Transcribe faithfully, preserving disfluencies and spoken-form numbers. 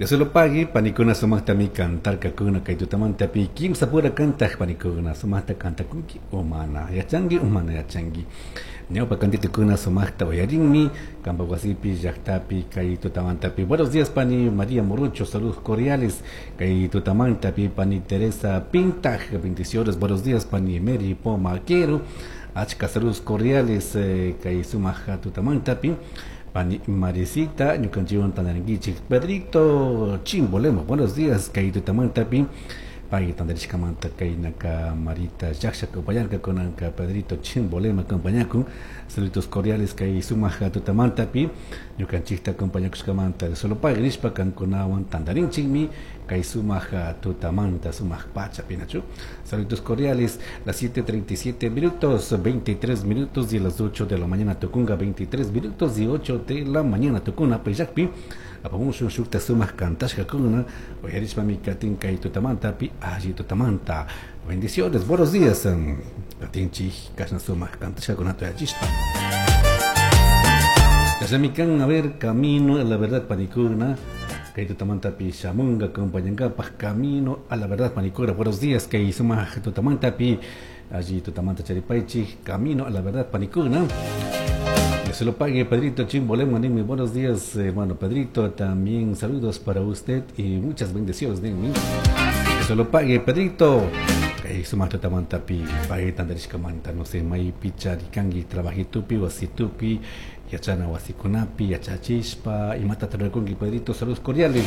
Dios lo pague, panikuna sumaqtami kantarkakuna kay tutamantapi kimsa pura kantaq panikuna sumaqta kantakunki o mana yachanki o mana yachanki. Ñawpa kantitukuna sumaqta uyarinmi qampa wasipi llaqtapi kay tutamantapi. Buenos días, pani María Morucho, saludos cordiales kay tutamantapi. Pani Teresa Pintaj, bendiciones. Buenos días, pani Mary Pomaquero, achka saludos cordiales eh, kay sumaq tutamantapi. Pani Marisita, ñukanchikwan tantarinkichik. Pedrito Chimbolema, buenos días, kay tutamantapi. Pay tantarishkamanta kaynaka Marita llaksha acompañarka kunanka Pedrito Chimbolema acompañakun. Saludos cordiales kay sumaq tutamantapi ñukanchikta acompañakushkamanta. Solo pague nishpa kankunawan tantarinchikmi kay sumaq tutamanta, sumaq pachapi, nachu. Saludos cordiales, las siete treinta y siete minutos, veintitrés minutos y las ocho de la mañana tukunga, veintitrés minutos y ocho de la mañana tukuna payllakpi apamushun shukta sumaq kantashkakuna uyarishpami katin kay tutamantapi alli tutamanta. Bendiciones, buenos días. Katinchik kashna sumaq kantashkakunata uyachishpa. Kashamikan, a ver, Camino a la Verdad, panikuna. Kay tutamantapi shamunga acompañankapaj. Camino a la Verdad, panikuna. Buenos días, kay sumaq tutamantapi alli tutamanta charipaychik. Camino a la Verdad, panikuna. Que se lo pague. Pedrito Chimbolema, ninmi, buenos días, hermano Pedrito, también saludos para usted y muchas bendiciones, ninmi. Que se lo pague, Pedrito. Kay sumaq tutamantapi pay tantarishkamanta. No sé, maypicha rikanki, trabajitupi, wasitupi, yachana wasikunapi, yachachishpa, imata rurakunki, Pedrito, saludos cordiales.